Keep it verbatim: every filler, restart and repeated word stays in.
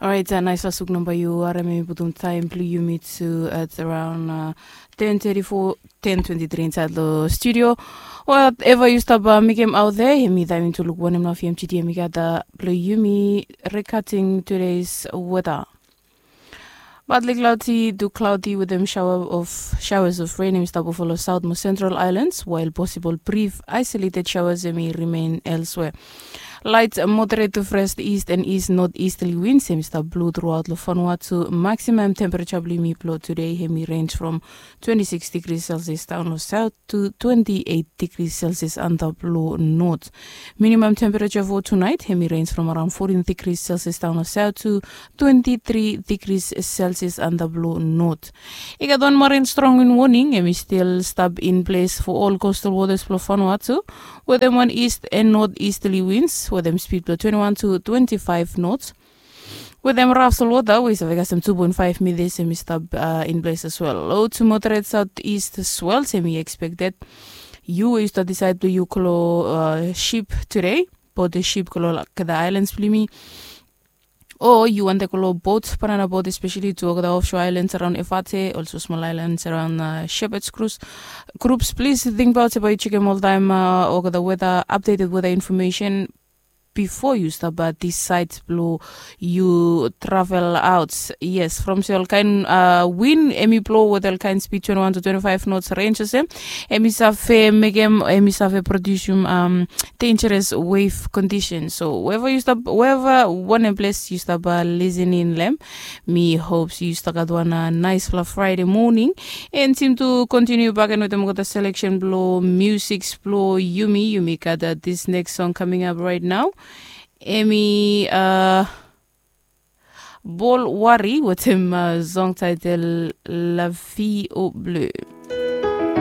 Orait, nais lasuk namba yu harim em i putum taim bilong yumi tu at around ten thirty-four, ten twenty-three insait long studio. Whatever yu stap mekim out there, em i taim tu luk wanem na fmgt em i gat bilong yumi. Recutting today's weather. Partly cloudy to cloudy with them shower of showers of rain em i stap follow south mo central islands, while possible brief isolated showers em i remain elsewhere. Light moderate to fresh east and east northeasterly winds em i stap blow throughout lo Vanuatu. Maximum temperature bilong yumi bilong today em i range from twenty-six degrees Celsius down lo south to twenty-eight degrees Celsius antap lo north. Minimum temperature for tonight em i range from around fourteen degrees Celsius down lo south to twenty-three degrees Celsius antap lo north. I gat wan marin strong wind warning em i still stap in place for all coastal waters bilong Vanuatu, with them one east and northeasterly winds with them speed bilong twenty-one to twenty-five knots. With them rough sol water we save kasem two point five meters em i stap uh, in place as well. Low to moderate southeast swells em i expected. You we yu stap decide bilong yu kolo uh, ship today, but the ship kolo like the islands bilimi. O yu wante kolo boat, banana boat, especially to olgeta offshore islands around Efate, also small islands around uh, Shepherd's Cruise groups. Please think about yu chekem oltaim uh, olgeta weather, updated weather information before yu stap uh, decide bilong yu travel out. Yes, from se ol kain uh, win em i blow with ol kain speed twenty-one to twenty-five knots range olsem, em i save mekem, em i save produsium um, dangerous wave condition. So wherever you stop, wherever one place you stop uh, listening lem, mi hopes yu stap gat wan uh, nice fla Friday morning. And seem to continue back and with them got a selection blow music blow yumi yumi got uh, this next song coming up right now. Emi uh, Bol Wari with him uh, song title La Vie au Bleu.